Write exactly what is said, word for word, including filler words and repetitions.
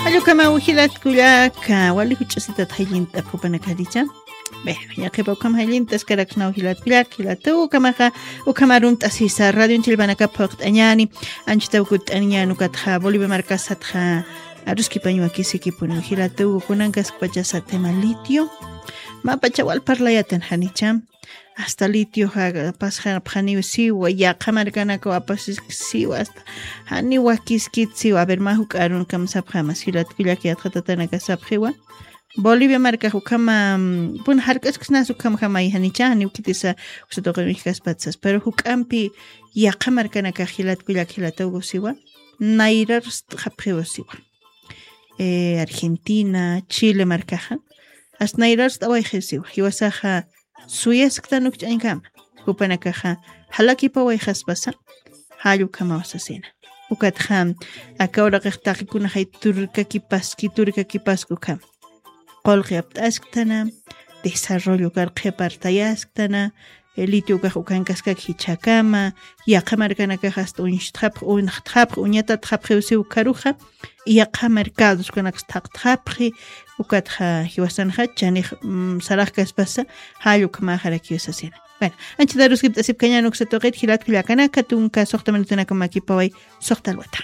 Allukama ujilat kullaka wali juch'asitat jayllinta qupanakaricha. Bueno, yaqhipa ukham jayllinta askaraksnaw jilat kullak jilatuw ukhamaxa. Ukhamarunt'asisa radio chillpanakap phuqt'añani. Anchitaw kutt'aniñan ukatxa bolivia markasatxa aruskipañ wakisikipuniw jilatuw kunankaskpachasa tema litio. Mapacha wal parlayatan janicha. Hasta litio pasxapxaniw siwa yaqha markanakaw apasiski siwa hasta jani wakiskit siwa a ver mä juk'arun kamsapxama silat kullak yatxatatanaka sapxiwa. Bolivia markax ukhama pun jark'askisnas ukhamjamay janicha janiw khitisa uksatuqin wijkaspatsa pero juk'ampi yaqha markanakax jilat kullak jilatuw siwa. Nayrarst'xapxiw siwa. Argentina chile markaxa. Hasta nayrarst'awayxi siwa jiwasaxa suyasktan ukch'añkama. Jupanakaxa jalakipawayxaspasa jall ukhamaw sasina. Ukatxa aka uraqix taqikunaxay turkakipaski turkakipaski ukhama. Qullqi apt'asktana desarrollo karqhi apartayasktana. Litio ukax ukankaskak jichhakama yaqha markanakax hasta uñstxapxi unxtxapxi uñatatxapxiw siw ukharuxa. Yaqha mercados ukanakas thaqtxapxi. Ukatxa jiwasanxa chanix saraxkaspasa jall ukhamaxarakiw sasina. Bueno, anchitaruskipt'asipkañan uksatuqit jilat kullakanaka tunka suxta minutunakam makipaway. Suxta alwata.